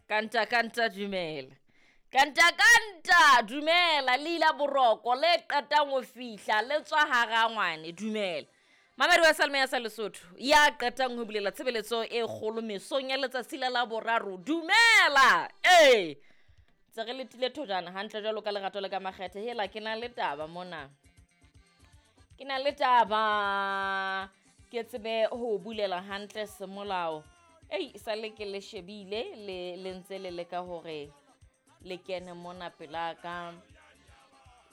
Kanta kanta dumela. Kanta kanta dumela le ila boroko le qetang ho fihla le tswa hara ngwane dumela. Mamedi wa Salme ya sa Lesotho ya qetang ho bulela tshebeletso e kgolo mesong ya letsatsi la Laboraro dumela. Ee tse re letile thojana hantle jwalo ka lerato le ka makgethe hela ke na le taba mona. Ke na le taba ke tsebe ho bulela hantle semolao. Ei sale ke le shebile le le ntse le leka hore le kene mona pela ka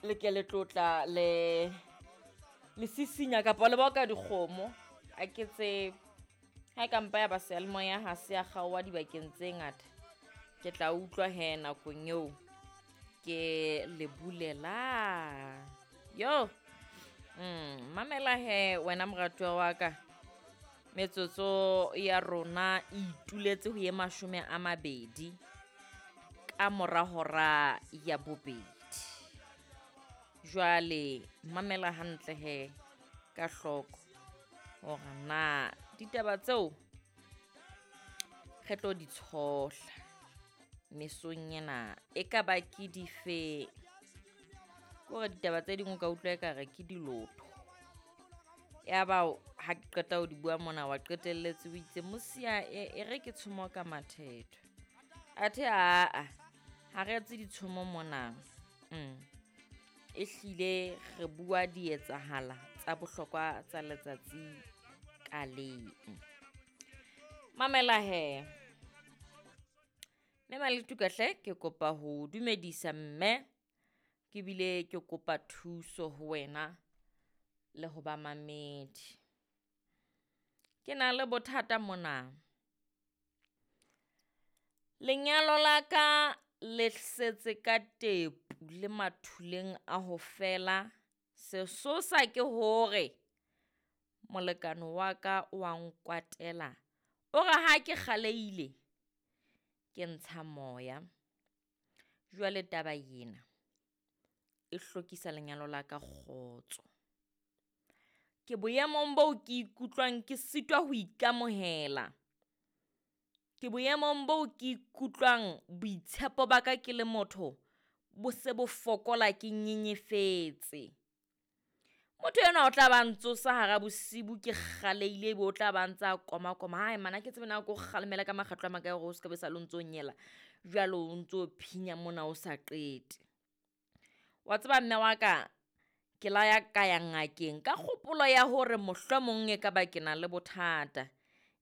le ke le tlotla le le sisinya kapa le boka dikgomo a ke tsebe. Ha e ka mpa ya ba seyalemoya ha se ya kgaoha dibakeng tse ngata. Ke tla utlwa he nakong eo ke le bulela. Yo mamela he wena moratuwa wa ka. Metsotso ya rona e ituletse ho ye 20 ka mora hora ya bobedi. Jwale mamela hantle he ka hloko hore na ditaba tseo re tlo di tshohla mesong ena e ka ba ke dife. Ke hore ditaba tse ding o ka utlwa ekare ke dilotho. Ya ba ha ke qeta ho di bua mona wa qetelletse o itse mosia e re ke tshomo ka mathetho. Athe aa ha re etse ditshomo mona. E hlile re bua dietsahala tsa bohlokwa tsa letsatsi ka leng. Mamela he. Mme Maletuka hle ke kopa ho dumedisa mme ke bile ke kopa thuso ho wena le ho ba mamedi. Ke na le bothata mona. Lenyalo la ka le setse ka tepu le mathuleng a ho fela. Sesosa ke hore molekane wa ka wa nkwatela. O re ha ke kgaleile ke ntsha moya. Jwale taba ena e hlokisa lenyalo la ka kgotso. Ke boemong boo ke ikutlwang ke sitwa ho ikamohela. Ke boemong boo ke ikutlwang boitshepo ba ka ke le motho bo se bo fokola ke nyenyefetse. Motho enwa o tla ba ntsosa hara bosibu ke kgaleile ebe o tla ba ntsa koma koma. Hai man ha ke tsebe na ke o kgalemela ka makgetlo a makae hore o ska be sa le o ntso nyela. Jwale o ntso phinya mona o sa qete. Wa tseba mme wa ka ke la ya ka ya ngakeng ka kgopolo ya hore mohlomong e ka ba ke na le bothata.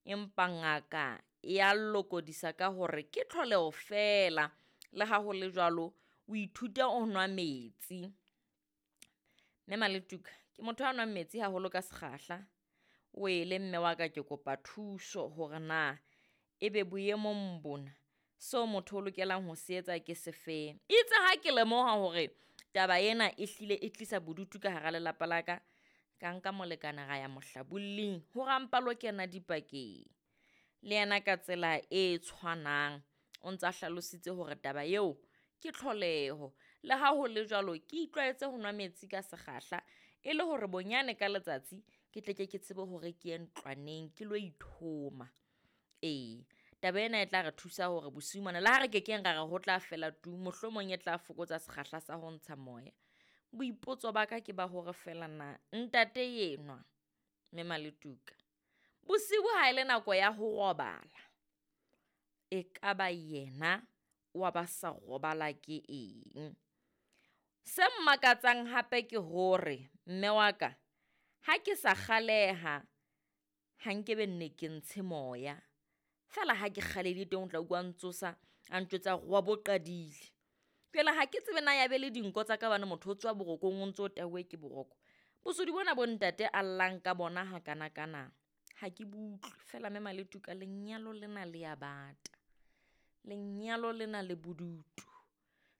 Empa ngaka ya lokodisa ka hore ke tlholeho feela. Le ha ho le jwalo o ithute o nwa metsi. Mme Maletuka ke motho a nwang metsi haholo ka sekgahla. O ele mme wa ka ke kopa thuso hore na ebe boemong bona seo motho o lokelang ho se etsa ke sefeng. Itse ha ke lemoha hore taba ena e hlile e tlisa bodutu ka hara lelapa la ka, ka nka molekane ra ya mohlabolling hore a mpa lo kena dipakeng. Le yena ka tsela e tshwanang o ntsa hlalositse hore taba eo ke tlholeho. Le ha ho le jwalo ke itlwaetse ho nwa metsi ka sekgahla e le hore bonyane ka letsatsi ke tle ke ke tsebe hore ke ye ntlwaneng ke lo ithoma. Ee, taba ena e tla re thusa hore bosiu mona le ha re kekeng ra re ho tla fela tu, mohlomong e tla fokotsa sekgahla sa ho ntsha moya. Boipotso ba ka ke ba hore feela na ntate enwa Mme Maletuka bosiu ha ele nako ya ho robala, e ka ba yena wa ba sa robala ke eng? Se mmakatsang hape ke hore mme wa ka ha ke sa kgaleha ha nkebe nne ke ntshe moya. Feela ha ke kgalehile teng o tla utlwa ntsosa a ntjwetsa hore wa bo qadile. Jwale ha ke tsebe na ya be le dinko tsa ka hobane motho o tswa borokong o ntso tauwe ke boroko. Bosodi bona bo ntate a llang ka bona hakanakana ha ke bo utlwe. Feela Mme Maletuka lenyalo lena le ya bata. Lenyalo lena le bodutu.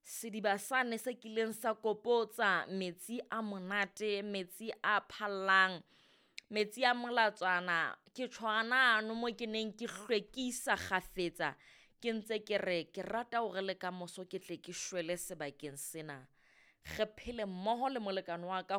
Sediba sane se kileng sa kopotsa metsi a monate, metsi a phallang, metsi a molatswana. Ke tjho hanano mo ke neng ke hlwekisa kgafetsa ke ntse ke re ke rata hore le kamoso ke tle ke shwele sebakeng sena. Re phele mmoho le molekane wa ka.